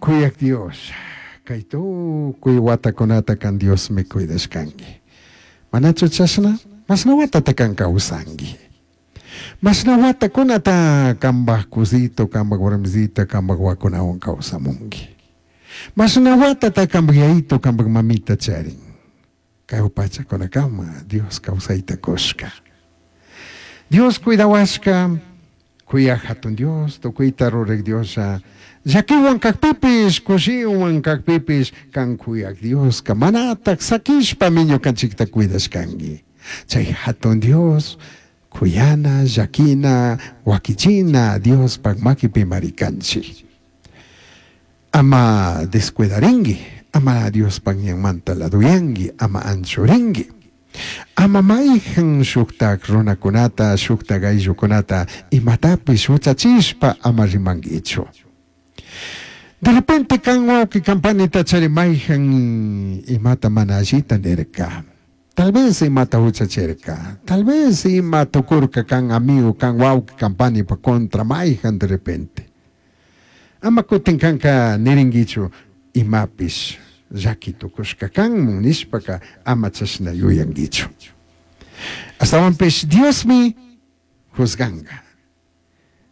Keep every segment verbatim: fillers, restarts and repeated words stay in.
Kuyaq Dios, kay tukuy watakunata kan Diosmi cuidashkanki. Manachu chashna? Mashna watata kan kawsanki. Mashna watakunata kambaj kusito, kambaj warmisita, kambaj wakunawan kawsamunki. Mashna watata kambaj yayito, kambaj mamita charin. Kay pachakunakama Dios kawsayta kushka. Dios cuidawashka, kuyaj hatun Dios, tukuyta ruraj Dioslla, llakiwan kakpipish, kushiwan kakpipish, kan kuyaj Dioska manatak sakishpami ñukanchikta cuidashkanki. Chay hatun Dios, kuyana, llakina, wakichina, Diospak makipimari kanchik. Ama descuidarinki, ama Diospak ñanmanta laduyanki, ama anchurinki. Ama mayhan shuktak runakunata, shuktak ayllukunata imatapish huchachishpa ama rimankichu. De repente kan wawqi kan panita chari mayhan imata mana allita nirka. Tal vez imata huchachirka. Tal vez ima tukurka kan amigo, kan wawqi kan panipa contra mayhan de repente. Ama kutin kanka nirinkichu imapish llaki tukushka kanmun nishpaka ama chashna yuyankichu. Ashtawanpish Diosmi juzganga.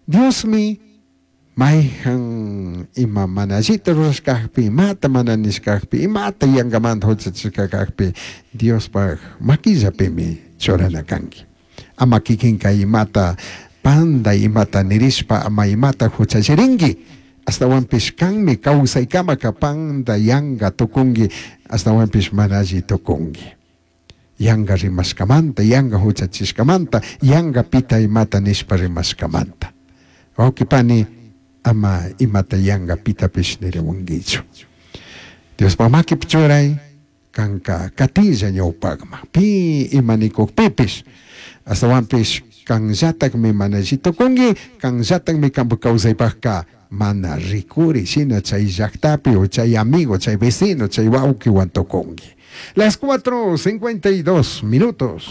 Diosmi mayhan ima mana allita rurashkakpi, imata mana nishkakpi, imata yankamanta huchachishka kakpi, Diospaj makillapimi churana kanki. Ama kikinka imata panda imata nirishpa ama imata huchachirinki. Ashtawanpish kanmi kawsaykamaka panda yanka tukunki, ashtawanpish mana alli tukunki. Yanka rimashkamanta, yanka huchachishkamanta, yanka pita imata nishpa rimashkamanta. Wawqi pani, ama imata yanka pitapish niriwankichu. Diospaj makipi churay, kanka katilla ñawpakman, pi ima nikukpipish, ashtawanpish kanllatakmi mana alli tukunki, kanllatakmi kanpak kawsaypakka mana rikuri shina chay llaktapi o chay amigo, chay vecino, chay wawqiwan tukunki. Las cuatro cincuenta y dos minutos.